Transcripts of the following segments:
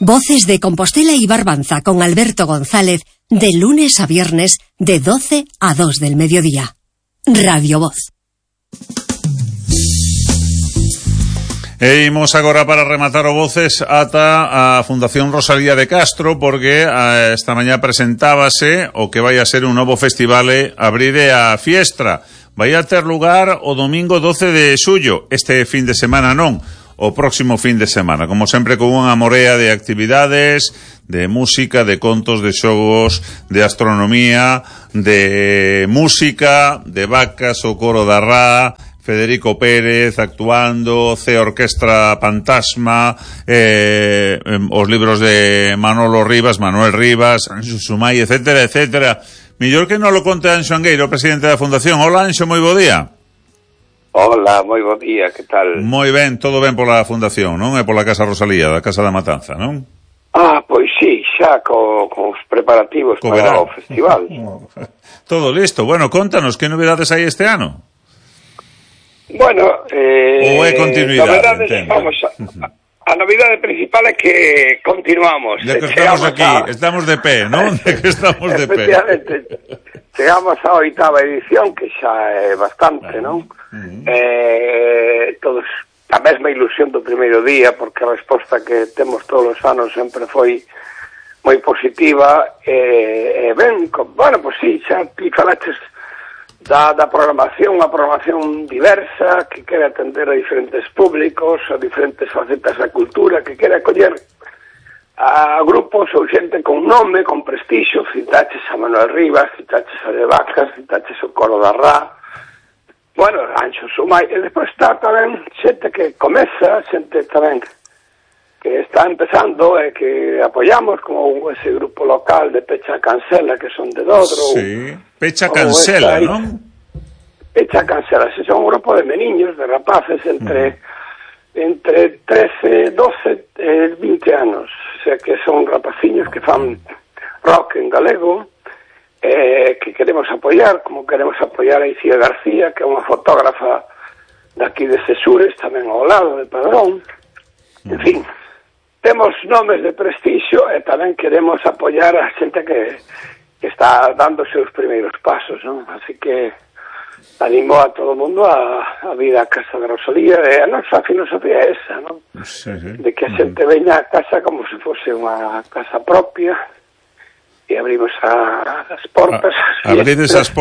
Voces de Compostela y Barbanza con Alberto González, de lunes a viernes, de 12 a 2 del mediodía. Radio Voz. E imos agora para rematar o Voces ata a Fundación Rosalía de Castro, porque esta mañá presentábase o que vai a ser un novo festival Abride a Fiestra. Vai a ter lugar o domingo 12 de xullo, este fin de semana non, o próximo fin de semana, como sempre con unha morea de actividades, de música, de contos, de xogos, de astronomía, de música, de vacas, o coro da Rá, Federico Pérez actuando, C Orquestra Fantasma, os libros de Manuel Rivas, Anxo Sumai, etcétera, etcétera. Millor que non lo conte Anxo Angueiro, presidente da Fundación. Hola, Anxo, moi bo día. Hola, moi bo día, que tal? Moi ben, todo ben pola Fundación, non? E pola Casa Rosalía, da Casa da Matanza, non? Pois sí, xa cos preparativos para o festival. Todo listo. Bueno, contanos, que novedades hai este ano? Bueno, ou é continuidade, vamos a novidade principal é que continuamos. De que estamos aquí, estamos de pé, non? De que estamos de pé. Efectivamente, chegamos á 8ª edición, que xa é bastante, non? Todos a mesma ilusión do primeiro día, porque a resposta que temos todos os anos sempre foi moi positiva, ben, bueno, pois sí, xa ti falaches da programación, unha programación diversa, que quere atender a diferentes públicos, a diferentes facetas da cultura, que quere acoller a grupos ou xente con nome, con prestixio. Citaches a Manuel Rivas, citaches a de Vacas, citaches o coro da Rá, bueno, Anxo Sumai, e despois está tamén xente que comeza, xente tamén que está empezando e que apoyamos, como ese grupo local de Pecha Cancela, que son de Dodro. Sí, Pecha Cancela, non? Pecha Cancela, ese son un grupo de meniños, de rapaces, entre 13, 12 e 20 anos. O sea, que son rapaciños que fan rock en galego, que queremos apoiar, como queremos apoiar a Icía García, que é unha fotógrafa daqui de Sesures, tamén ao lado de Padrón. En fin, temos nomes de prestixio e tamén queremos apoiar a xente que está dando os seus primeiros pasos, non? Así que animo a todo o mundo a vir á Casa de Rosalía, e a nosa filosofía é esa, non? Sí. De que a xente veña a casa como se fose unha casa propia, e abrimos as portas. Abrides as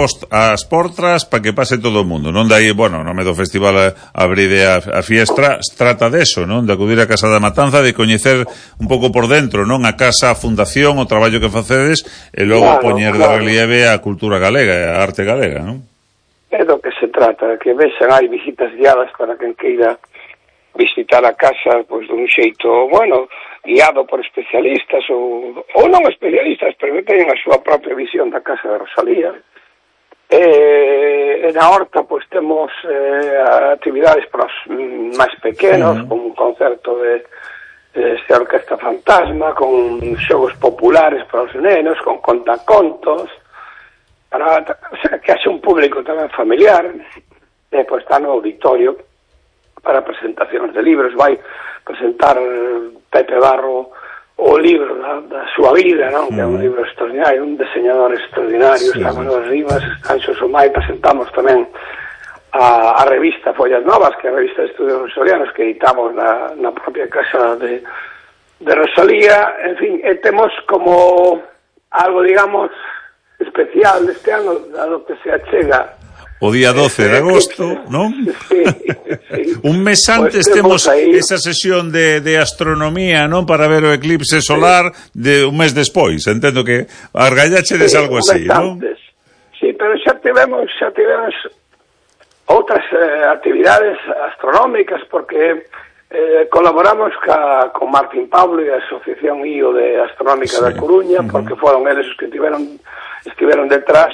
portas para que pase todo o mundo, non? Daí, bueno, nome do festival Abride a Fiestra, trata deso, non? De acudir á Casa da Matanza, de coñecer un pouco por dentro, non? A casa, a fundación, o traballo que facedes, e logo poñer de relieve a cultura galega, a arte galega, non? É do que se trata, que vexan, hai visitas guiadas para quen queira visitar a casa, pois dun xeito, bueno, guiado por especialistas ou non especialistas, pero que teñen a súa propia visión da Casa de Rosalía. E na horta, pois, temos actividades para os máis pequenos, con un concerto de Orquestra Fantasma, con xogos populares para os nenos, con contacontos, para, o sea, que haxe un público tamén familiar. E pois está no auditorio para presentacións de libros. Vai presentar Pepe Barro o libro da súa vida, non? Que é un libro extraordinario, un diseñador extraordinario. Está Manuel Rivas, Anxo Sumai. Presentamos tamén a revista Follas Novas, que é a revista de estudios rosalianos que editamos na propia Casa de Rosalía. En fin, temos como algo, digamos, especial deste ano, dado que se achega o día 12 de agosto, non? Sí. Un mes antes temos esa sesión de astronomía, non? Para ver o eclipse solar de un mes despois. Entendo que argallachedes algo así, non? Sí, pero xa tivemos outras actividades astronómicas, porque colaboramos con Martín Pablo e a Asociación IO de Astronómica da Coruña, porque foron eles os que estiveron detrás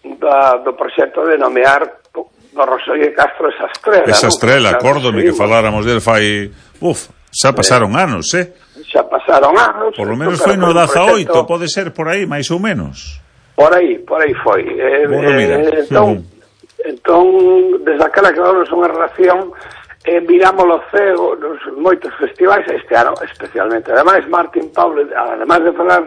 do proxecto de nomear do Rosalía de Castro esa estrela. Esa estrela, acórdome que faláramos del fai... xa pasaron anos, Xa pasaron anos. Por lo menos foi no 18, pode ser por aí, máis ou menos. Por aí foi. Bueno, mira. Entón, desde aquela que vamos unha relación mirámoslo cego nos moitos festivais este ano especialmente. Ademais, Martín Pablo, ademais de falar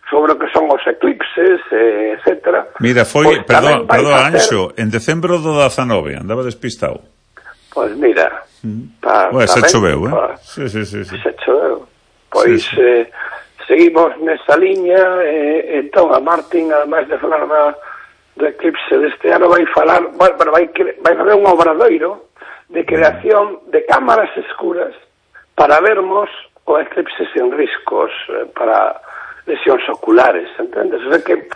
sobre o que son os eclipses, etcétera. Mira, foi, perdón, Anxo, en decembro do 19, andaba despistado. Pois mira, se choveu, Sí. Se choveu. Pois seguimos nesa liña, entón a Martín, ademais de falar do eclipse deste ano, vai falar, vai fazer un obradoiro de creación de cámaras escuras para vermos o eclipse sen riscos para lesións oculares, entendes? O sea que,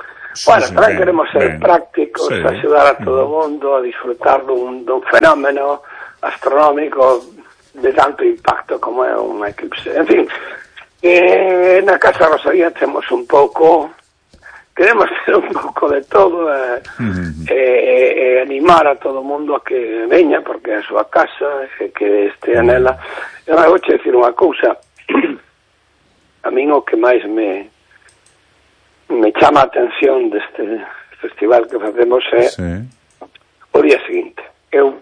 tamén queremos ser prácticos, axudar a todo o mundo a disfrutar dun fenómeno astronómico de tanto impacto como é un eclipse. En fin, na Casa Rosalía temos un pouco, queremos ter un pouco de todo, animar a todo o mundo a que veña, porque é a súa casa, que estea nela. Eu vou che dicir unha cousa, a min o que máis me chama a atención deste festival que facemos é o día seguinte. Eu,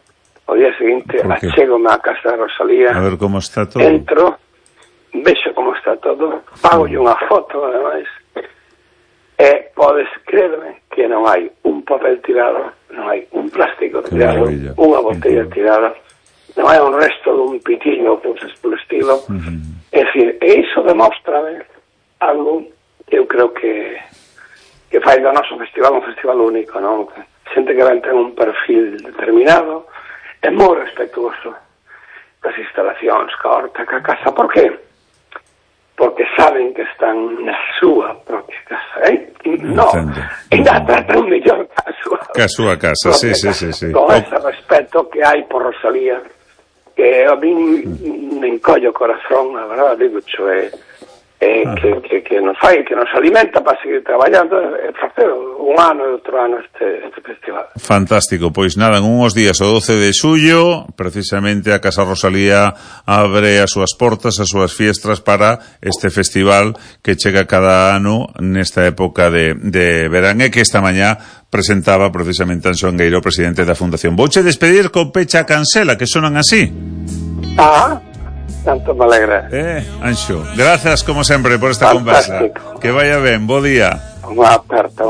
o día seguinte, achégome á Casa de Rosalía, a ver como está todo, entro, vexo como está todo, pagolle unha foto, ademais, e podes creerme que non hai un papel tirado, non hai un plástico tirado, unha botella tirada, non hai un resto dun pitiño, cousas polo estilo. É dicir, e iso demóstrame algo que eu creo que fai do noso festival un festival único, non? Xente que ten un perfil determinado, é moi respetuoso das instalacións, ca horta, ca casa. Por qué? Porque saben que están na súa propia casa, No, ainda tratan mellor que a súa casa, sí. Con ese respeto que hai por Rosalía, que a min me encollo o corazón, a verdade, digo, que nos fai, que nos alimenta para seguir traballando e facer un ano e outro ano este festival. Fantástico, pois nada, en uns días, o 12 de xullo, precisamente a Casa Rosalía abre as súas portas, as súas fiestras para este festival que chega cada ano nesta época de verán, e que esta mañá presentaba precisamente Anxo Angueiro, presidente da Fundación. Vouche despedir con Pecha Cancela, que sonan así. Tanto me alegra. Anxo, gracias como sempre por esta conversa. Que vaya ben, bo día. Unha aperta.